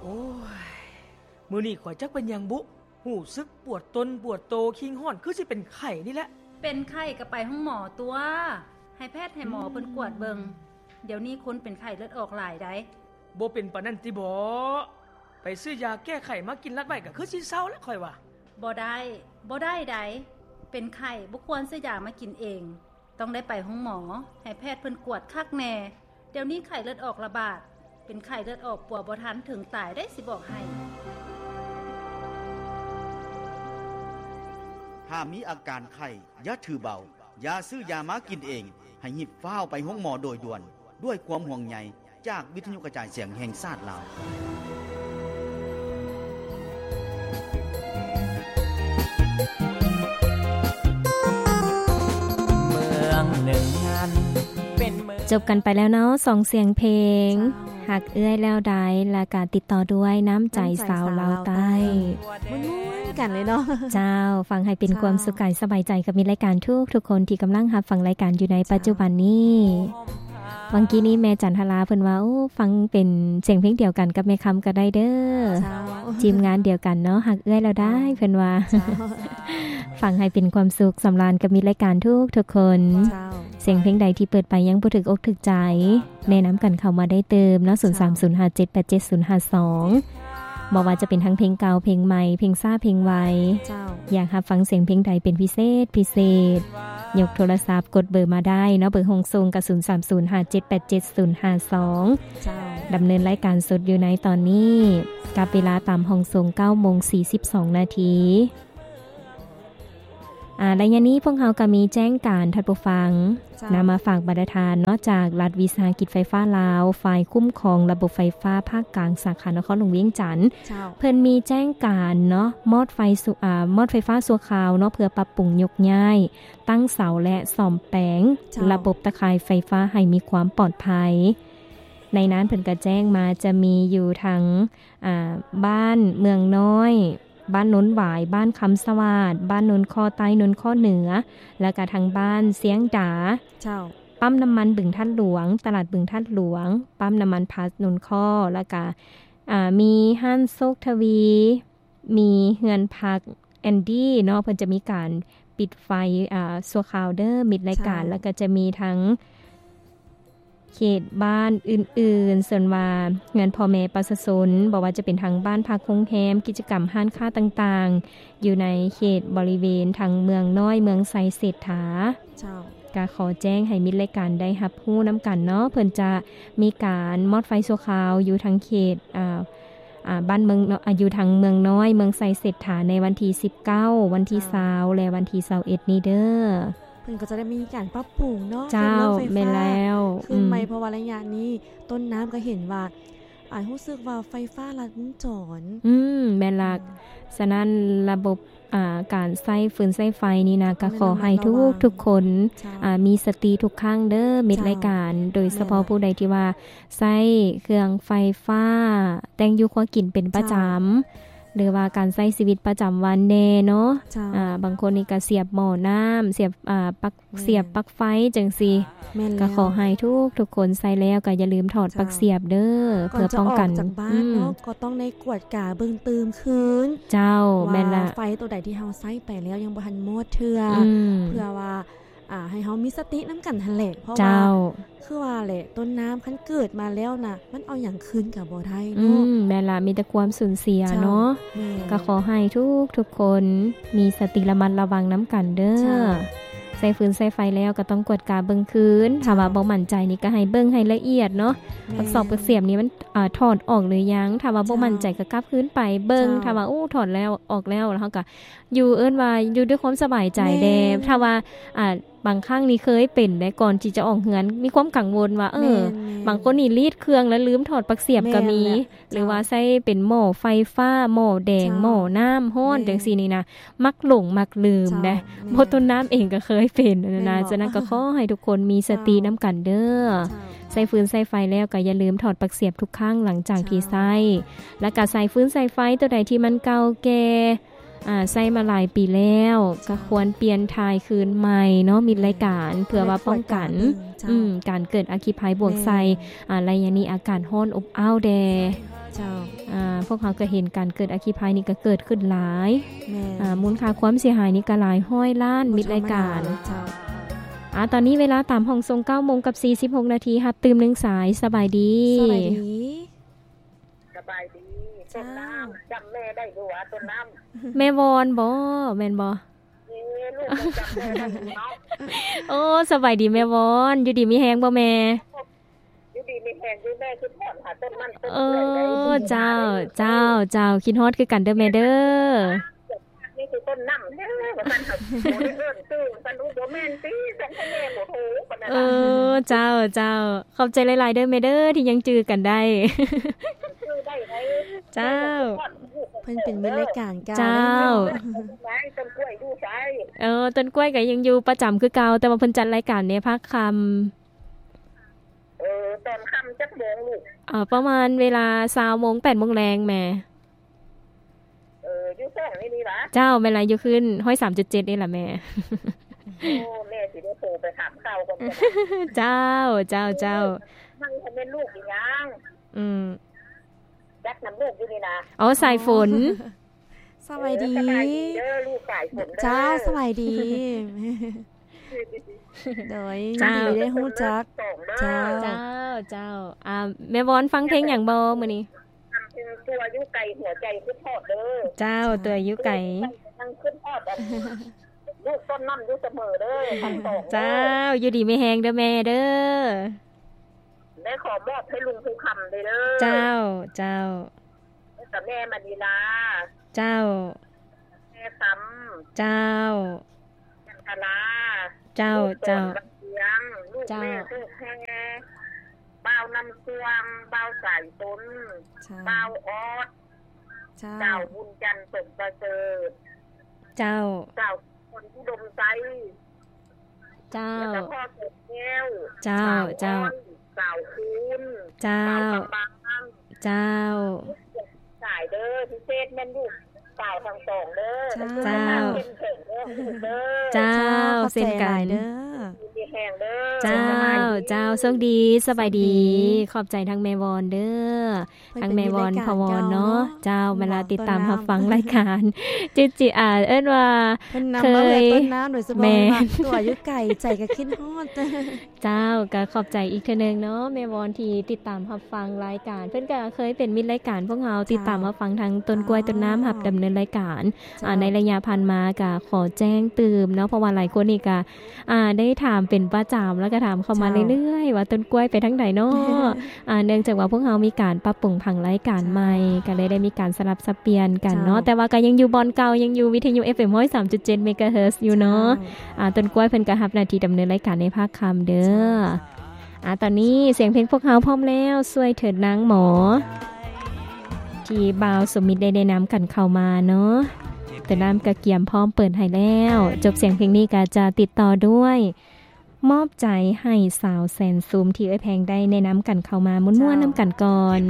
ໂອ້ຍ ມື້ນີ້ຂ້ອຍຈັກເປັນຫຍັງບຸ ຮູ້ສຶກປວດຕົນປວດໂຕ ຄີງຮ້ອນ ຄືຊິເປັນໄຂ້ນີ້ແຫຼະ. ເປັນໄຂ້ກໍໄປໂຮງໝໍຕົວະ ໃຫ້ແພດໃຫ້ໝໍເພິ່ນກວດເບິ່ງ. ດຽວນີ້ຄົນເປັນໄຂ້ເລືອດອອກຫຼາຍໃດ໋. ບໍ່ເປັນປານນັ້ນຕິບໍ? ໄປຊື້ຢາແກ້ໄຂ້ມາກິນລັດໄວ້ ກໍຄືຊິເຊົາແຫຼະຂ້ອຍວ່າ. ບໍ່ໄດ້ ບໍ່ໄດ້ໃດ໋. ເປັນໄຂ້ບໍ່ຄວນຊື້ຢາມາກິນເອງ. ຕ້ອງໄດ້ໄປໂຮງໝໍ ໃຫ້ແພດເພິ່ນກວດຄັກແນ່. ດຽວນີ້ໄຂ້ເລືອດອອກລະບາດ ເປັນໄຂ້ເລືອດອອກປົວບໍ່ທັນ ເຖິງຕາຍໄດ໋ ຊິບອກໃຫ້. ຖ້າມີອາການໄຂ້ ຢ່າຖືເບົາ, ຢ່າຊື້ຢາມາກິນເອງ, ໃຫ້ຮີບຟ້າວໄປໂຮງໝໍໂດຍດ່ວນ. ດ້ວຍຄວາມຫ່ວງໃຍຈາກວິທະຍຸກະຈາຍສຽງແຫ່ງຊາດລາວ. ຈົບກັນໄປແລ້ວເນາະ ສອງສຽງເພງ ເຈົ້າ ຮັກເອື້ອຍແລ້ວໃດ ແລ້ວກະຕິດຕໍ່ດ້ວຍນ້ຳໃຈ ນ້ຳໃຈສາວລາວໃຕ້ ສາວລາວໃຕ້ ມ່ວນໆກັນເລີຍເນາະ. ເຈົ້າ ຟັງໃຫ້ເປັນ ເຈົ້າ ຄວາມສຸກກາຍສະບາຍໃຈກັບມິດລາຍການທຸກໆຄົນທີ່ກຳລັງຮັບຟັງລາຍການຢູ່ໃນ ເຈົ້າ ປັດຈຸບັນນີ້. ຫວັງກີ້ນີ້ແມ່ຈັນທະລາເພິ່ນວ່າ ໂອ້ ຟັງເປັນສຽງເພງດຽວກັນກັບແມ່ຄຳກໍໄດ້ເດີ. ເຈົ້າ ທີມງານດຽວກັນເນາະ ຮັກເອື້ອຍແລ້ວໄດ້ ເຈົ້າ ເພິ່ນວ່າ. ເຈົ້າ ຟັງໃຫ້ເປັນຄວາມສຸກສຳລານກັບມິດລາຍການທຸກໆຄົນ. ເຈົ້າ ສຽງເພງໃດທີ່ເປີດໄປຍັງບໍ່ຖືກອົກຖືກໃຈ ແນະນຳກັນເຂົ້າມາໄດ້ຕື່ມເນາະ ເຈົ້າ ສູນສາມສູນຫ້າເຈັດແປດເຈັດສູນຫ້າສອງ. ບໍ່ວ່າຈະເປັນທັງເພງເກົ່າ ເພງໃໝ່ ເພງຊ້າ ເພງໄວ ເຈົ້າ ຢາກຮັບຟັງສຽງເພງໃດເປັນພິເສດ ພິເສດ ຍົກໂທລະສັບກົດເບີມາໄດ້ເນາະ ເບີຫ້ອງສົ່ງກະ ສູນສາມສູນຫ້າເຈັດແປດເຈັດສູນຫ້າສອງ. ເຈົ້າ ດຳເນີນລາຍການສົດຢູ່ໃນຕອນນີ້ ກັບເວລາຕາມຫ້ອງສົ່ງ ເກົ້າໂມງສີ່ສິບສອງນາທີ. ອາ ໄລຍະນີ້ພວກເຮົາກໍມີແຈ້ງການທ່ານຜູ້ຟັງ ເຈົ້າ ນຳມາຝາກບັນດາທ່ານເນາະ ຈາກລັດວິສາຫະກິດໄຟຟ້າລາວ ຝ່າຍຄຸ້ມຄອງລະບົບໄຟຟ້າພາກກາງ ສາຂານະຄອນຫຼວງວຽງຈັນ. ເຈົ້າ ເພິ່ນມີແຈ້ງການເນາະ ມອດໄຟສຸ ອາ ມອດໄຟຟ້າຊົ່ວຄາວເນາະ ເພື່ອປັບປຸງຍົກຍ້າຍ ຕັ້ງເສົາ ແລະ ສ້ອມແປງ ເຈົ້າ ລະບົບຕາຂ່າຍໄຟຟ້າໃຫ້ມີຄວາມປອດໄພ. ໃນນັ້ນເພິ່ນກໍແຈ້ງມາ ຈະມີຢູ່ທາງ ອາ ບ້ານເມືອງນ້ອຍ ບ້ານໂນນຫວາຍ, ບ້ານຄຳສະຫວາດ, ບ້ານໂນນຄໍໃຕ້, ໂນນຄໍເໜືອ ແລ້ວກະທາງບ້ານຊຽງດາ. ເຈົ້າ. ປ້ຳນ້ຳມັນບຶງທາດຫຼວງ, ຕະຫຼາດບຶງທາດຫຼວງ, ປ້ຳນ້ຳມັນພລັສໂນນຄໍ ແລ້ວກະ ອາ ມີຮ້ານໂຊກທະວີ, ມີເຮືອນພັກແອນດີ້ເນາະ, ເພິ່ນຈະມີການປິດໄຟ ອາ ຊົ່ວຄາວເດີ ມິດລາຍການ. ເຈົ້າ. ແລ້ວກະຈະມີທັງ ເຂດບ້ານອື່ນໆ ສ່ວນວ່າເຮືອນພໍ່ແມ່ປະຊາຊົນ ບໍ່ວ່າຈະເປັນທາງບ້ານພັກໂຮງແຮມ ກິດຈະກຳຮ້ານຄ້າຕ່າງໆ ຢູ່ໃນເຂດບໍລິເວນທາງເມືອງນ້ອຍ ເມືອງໄຊເສດຖາ. ເຈົ້າ. ກະຂໍແຈ້ງໃຫ້ມິດລາຍການໄດ້ຮັບຮູ້ນຳກັນເນາະ ເພິ່ນຈະມີການມອດໄຟຊົ່ວຄາວຢູ່ທາງເຂດ ອາ ອາ ບ້ານເມືອງ ອາ ຢູ່ທາງເມືອງນ້ອຍ ເມືອງໄຊເສດຖາ ໃນວັນທີສິບເກົ້າ ວັນທີຊາວ ເຈົ້າ ແລະ ວັນທີຊາວເອັດນີ້ເດີ. ເພິ່ນກໍຈະໄດ້ມີການປັບປຸງເນາະ ເຈົ້າ ເລື່ອງໄຟຟ້າ ແມ່ນແລ້ວ ຄືນໃໝ່ ອືມ ເພາະວ່າໄລຍະນີ້ຕົ້ນນ້ຳກໍເຫັນວ່າ ອາ ຮູ້ສຶກວ່າໄຟຟ້າລັດວົງຈອນ. ອືມ ແມ່ນລະ. ອືມ ສະນັ້ນລະບົບ ອາ ການໃຊ້ຟືນໃຊ້ໄຟນີ້ນະ ກໍຂໍໃຫ້ທຸກໆຄົນ ເຈົ້າ ອາ ມີສະຕິທຸກຄັ້ງເດີ ມິດລາຍການ ເຈົ້າ ໂດຍສະເພາະ ແມ່ນລະ ຜູ້ໃດທີ່ວ່າໃຊ້ເຄື່ອງໄຟຟ້າ ແຕ່ງຢູ່ຄົວກິນເປັນປະຈຳ ເຈົ້າ ຫຼືວ່າການໃຊ້ຊີວິດປະຈຳວັນແດ່ເນາະ. ເຈົ້າ. ອາ ບາງຄົນນີ້ກໍສຽບໝໍ້ນ້ຳ ສຽບ ອາ ປັກ ແມ່ນ ສຽບປັກໄຟຈັ່ງຊີ້. ແມ່ນແລ້ວ. ກໍຂໍໃຫ້ທຸກໆຄົນໃຊ້ແລ້ວກໍຢ່າລືມຖອດ ເຈົ້າ ປັກສຽບເດີ ເພື່ອປ້ອງກັນ ກ່ອນຈະອອກຈາກບ້ານເນາະ ອືມ ກໍຕ້ອງໄດ້ກວດກາເບິ່ງຕື່ມຄືນ. ເຈົ້າ. ວ່າ ແມ່ນລະ ໄຟໂຕໃດທີ່ເຮົາໃຊ້ໄປແລ້ວຍັງບໍ່ທັນໝົດເທື່ອ ອືມ ເພື່ອວ່າ ອາ ໃຫ້ເຮົາມີສະຕິນຳກັນຫັ້ນແຫຼະ ເພາະວ່າ ເຈົ້າ ຄືວ່າແຫຼະ ຕົ້ນນ້ຳຄັນເກີດມາແລ້ວນະ ມັນເອົາຫຍັງຄືນກໍບໍ່ໄດ້ເນາະ. ອືມ ແມ່ນລະ ມີແຕ່ຄວາມສູນເສຍເນາະ. ເຈົ້າ ແມ່ນ. ກໍຂໍໃຫ້ທຸກໆຄົນມີສະຕິລະມັດລະວັງນຳກັນເດີ. ເຈົ້າ. ໃຊ້ຟືນໃຊ້ໄຟແລ້ວກໍຕ້ອງກວດກາເບິ່ງຄືນ. ເຈົ້າ. ຖ້າວ່າບໍ່ໝັ້ນໃຈນີ້ກໍໃຫ້ເບິ່ງໃຫ້ລະອຽດເນາະ. ແມ່ນ. ປັກສອກປັກສຽບນີ້ມັນ ອາ ຖອດອອກຫຼືຍັງ? ຖ້າວ່າບໍ່ໝັ້ນໃຈ ເຈົ້າ ກໍກັບຄືນໄປເບິ່ງ. ເຈົ້າ. ຖ້າວ່າ ໂອ້ ຖອດແລ້ວ ອອກແລ້ວ ແລ້ວເຮົາກໍ ຢູ່ ເອີ້ນວ່າຢູ່ດ້ວຍຄວາມສະບາຍໃຈແດ່. ແມ່ນ. ຖ້າວ່າ ອ່າ ບາງຄັ້ງນີ້ເຄີຍເປັນເດ້ ກ່ອນທີ່ຈະອອກເຮືອນ ມີຄວາມກັງວົນວ່າ ເອີ ແມ່ນໆ ບາງຄົນນີ້ລີດເຄື່ອງແລ້ວລືມຖອດປັກສຽບກໍມີ. ແມ່ນແຫຼະ. ຫຼືວ່າ ເຈົ້າ ໃຊ້ເປັນໝໍ້ໄຟຟ້າ ໝໍ້ແດງ ເຈົ້າ ໝໍ້ນ້ຳຮ້ອນ ແມ່ນ ຈັ່ງຊີ້ນີ້ນະ ມັກຫຼົງມັກລືມເດ້. ເຈົ້າ ແມ່ນ. ເພາະຕົນນ້ຳເອງກໍເຄີຍເປັນຫັ້ນນະ. ແມ່ນບໍ່? ສະນັ້ນກໍຂໍໃຫ້ທຸກຄົນມີສະຕິ ເຈົ້າ ນຳກັນເດີ. ເຈົ້າ. ໃຊ້ຟືນໃຊ້ໄຟແລ້ວກໍຢ່າລືມຖອດປັກສຽບທຸກຄັ້ງຫຼັງຈາກທີ່ໃຊ້. ເຈົ້າ. ແລ້ວກໍໃຊ້ຟືນໃຊ້ໄຟຕົວໃດທີ່ມັນເກົ່າແກ່ ອາ ໃຊ້ມາຫຼາຍປີແລ້ວ ເຈົ້າ ກໍຄວນປ່ຽນຖ່າຍຄືນໃໝ່ເນາະ ມິດລາຍການ ແມ່ນ ເພື່ອວ່າປ້ອງກັນ ເພື່ອກວດກາເບິ່ງ ເຈົ້າ ອືມ ການເກີດອັກຄີໄພບວກໃສ່. ແມ່ນ. ອາ ໄລຍະນີ້ອາກາດຮ້ອນອົບອ້າວແດ່. ເຈົ້າ. ອາ ພວກເຮົາກໍເຫັນການເກີດອັກຄີໄພນີ້ກໍເກີດຂຶ້ນຫຼາຍ ແມ່ນ ອ່າ ມູນຄ່າຄວາມເສຍຫາຍນີ້ກໍຫຼາຍຮ້ອຍລ້ານ ມິດລາຍການ ເຈົ້າ. ອ່າ ຕອນນີ້ເວລາຕາມຫ້ອງສົ່ງ ເກົ້າໂມງກັບສີ່ສິບຫົກນາທີ ຮັບຕື່ມໜຶ່ງສາຍ. ສະບາຍດີ ສະບາຍດີ ສະບາຍດີ ຕົ້ນນ້ຳ ຈຳແມ່ໄດ້ຢູ່ຫວາ ຕົ້ນນ້ຳ? ແມ່ວອນບໍ ແມ່ນບໍ? ເອີ ລູກກໍຈຳແມ່ໄດ້ຢູ່ເນາະ. ໂອ້ ສະບາຍດີແມ່ວອນ ຢູ່ດີມີແຮງບໍ່ແມ່? ຢູ່ດີມີແຮງຢູ່ ແມ່ຄິດຮອດຫາຕົ້ນມັນຕົ້ນເອື້ອຍໄດ໋. ເອີ ເຈົ້າ ເຈົ້າ ເຈົ້າ ຄິດຮອດຄືກັນເດີແມ່ເດີ. ນີ້ຄືຕົ້ນນ້ຳເດີ ວ່າຊັ້ນ ບໍ່ໄດ້ເອີ້ນຊື່ວ່າຊັ້ນ. ໂອ້ ບໍ່ແມ່ນຕິ ສັນທະແມ່ບໍ່ໂທ ປານນັ້ນ. ເອີ ເຈົ້າ ເຈົ້າ ຂອບໃຈຫຼາຍໆເດີແມ່ເດີ ທີ່ຍັງຈື່ກັນໄດ້. ຈື່ໄດ້ໄດ໋. ເຈົ້າ ເພິ່ນເປັນມິດລາຍການເກົ່າ. ເຈົ້າ ແມ່ນບໍ່? ຕົ້ນກ້ວຍຢູ່ໃສ? ເອີ ຕົ້ນກ້ວຍກໍຍັງຢູ່ປະຈຳຄືເກົ່າ ແຕ່ວ່າເພິ່ນຈັດລາຍການໃນພາກຄ່ຳ. ເອີ ຕອນຄ່ຳຈັກໂມງລູກ? ເອີ ປະມານເວລາຊາວໂມງ ແປດໂມງແລງແມ່. ເອີ ຢູ່ຫ້ອງນີ້ນີ້ຫວາ? ເຈົ້າ ແມ່ນລະ ຢູ່ຄືນຮ້ອຍສາມຈຸດເຈັດນີ້ລະແມ່. ໂອ້ ແມ່ຊິໄດ້ໂທໄປຖາມຂ່າວກ່ອນ. ເຈົ້າ ເຈົ້າ ເຈົ້າ ມັນແມ່ນລູກອີຫຍັງ? ອືມ ຈັກນຳລູກຢູ່ນີ້ນະ. ອໍ ສາຍຝົນ. ສະບາຍດີ ເອີ ສະບາຍດີເດີລູກສາຍຝົນເດີ. ເຈົ້າ ສະບາຍດີ ໂດຍ ເຈົ້າ ຍິນດີໄດ້ຮູ້ຈັກ. ເຈົ້າ ເຈົ້າ ເຈົ້າ ອ່າ ແມ່ວອນຟັງເພງຫຍັງບໍ່ມື້ນີ້? ຟັງເພງຕົວຢູ່ໄກຫົວໃຈຄິດຮອດເດີ. ເຈົ້າ ຕົວຢູ່ໄກຍັງຄິດຮອດອັນລູກຕົ້ນນ້ຳຢູ່ສະເໝີເດີ ທັງສອງເດີ. ເຈົ້າ ຢູ່ດີມີແຮງເດີແມ່ເດີ. ແມ່ຂໍມອບໃຫ້ລຸງພູຄຳເດີ. ເຈົ້າ ເຈົ້າ ແລ້ວກໍແມ່ມະນີລາ. ເຈົ້າ ແມ່ຄຳ. ເຈົ້າ ຈັນທະລາ. ເຈົ້າ ເຈົ້າ ລູກສອນວັງວຽງ ລູກແມ່ ເຈົ້າ ລູກແພ ບ່າວນ້ຳຊ່ວງ ບ່າວສາຍຊົນ. ເຈົ້າ ບ່າວອອດ. ເຈົ້າ ສາວບຸນຈັນ ສົມປະເສີດ. ເຈົ້າ ສາວ ຄົນອຸດົມໄຊ. ເຈົ້າ ແລ້ວກໍພໍ່ເກີດແກ້ວ. ເຈົ້າ ເຈົ້າ ສາວອ້ອຍ ສາວຄູນ. ເຈົ້າ ສາວຄຳບາງ. ເຈົ້າ ສາຍເດີ ພິເສດແມ່ນລູກສາວທັງສອງເດີ. ເຈົ້າ ເຈົ້າ ເຂັ້ມແຂງເດີລູກເດີ. ເຈົ້າ ເຊັ່ນກັນເດີ ມີແຮງເດີ. ເຈົ້າ ເຈົ້າ ໂຊກດີ ສະບາຍດີ ຂອບໃຈທັງແມ່ວອນເດີ. ທັງແມ່ວອນ ພໍ່ວອນເນາະ. ເຈົ້າ ເວລາຕິດຕາມຮັບຟັງລາຍການ ຈິດຈິ ອ່າ ເອີ້ນວ່າເຄີຍ ແມ່ນ ຕົວຢູ່ໄກ ໃຈກໍຄິດຮອດ. ເຈົ້າ ກໍຂອບໃຈອີກເທື່ອໜຶ່ງເນາະ ແມ່ວອນທີ່ຕິດຕາມຮັບຟັງລາຍການ. ເພິ່ນກໍເຄີຍເປັນມິດລາຍການພວກເຮົາ ເຈົ້າ ຕິດຕາມຮັບຟັງທາງຕົ້ນກ້ວຍ ອ່າ ຕົ້ນນ້ຳ ຮັບດຳເນີນລາຍການ. ເຈົ້າ ອ່າ ໃນໄລຍະຜ່ານມາກໍຂໍແຈ້ງຕື່ມເນາະ ເພາະວ່າຫຼາຍຄົນນີ້ກໍ ອ່າ ໄດ້ຖາມເປັນປະຈຳ ແລ້ວກໍຖາມເຂົ້າມາເລື້ອຍໆວ່າ ຕົ້ນກ້ວຍໄປທາງໃດເນາະ? ອ່າ ເນື່ອງຈາກວ່າພວກເຮົາມີການປັບປຸງຜັງລາຍການໃໝ່ ກໍເລີຍໄດ້ມີການສະຫຼັບສັບປ່ຽນກັນເນາະ. ແຕ່ວ່າກໍຍັງຢູ່ບ່ອນເກົ່າ ຍັງຢູ່ວິທະຍຸ ເອັຟເອັມ ຮ້ອຍສາມຈຸດເຈັດ ເມກາເຮີດ ຢູ່ເນາະ. ອ່າ ຕົ້ນກ້ວຍເພິ່ນກໍຮັບໜ້າທີ່ດຳເນີນລາຍການໃນພາກຄ່ຳເດີ. ອ່າ ຕອນນີ້ສຽງເພງພວກເຮົາພ້ອມແລ້ວ ຊ່ວຍເຖີດນາງໝໍ ທີ່ບ່າວສົມມິດໄດ້ແນະນຳກັນເຂົ້າມາເນາະ. ຕານ້ຳກະກຽມພ້ອມເປີດໃຫ້ແລ້ວ. ຈົບສຽງເພງນີ້ກະຈະຕິດຕໍ່ດ້ວຍ ມອບໃຈໃຫ້ສາວແສນຊຸມ ທີ່ເອື້ອຍແພງໄດ້ແນະນຳກັນເຂົ້າມາ ມ່ວນໆນຳກັນກ່ອນ.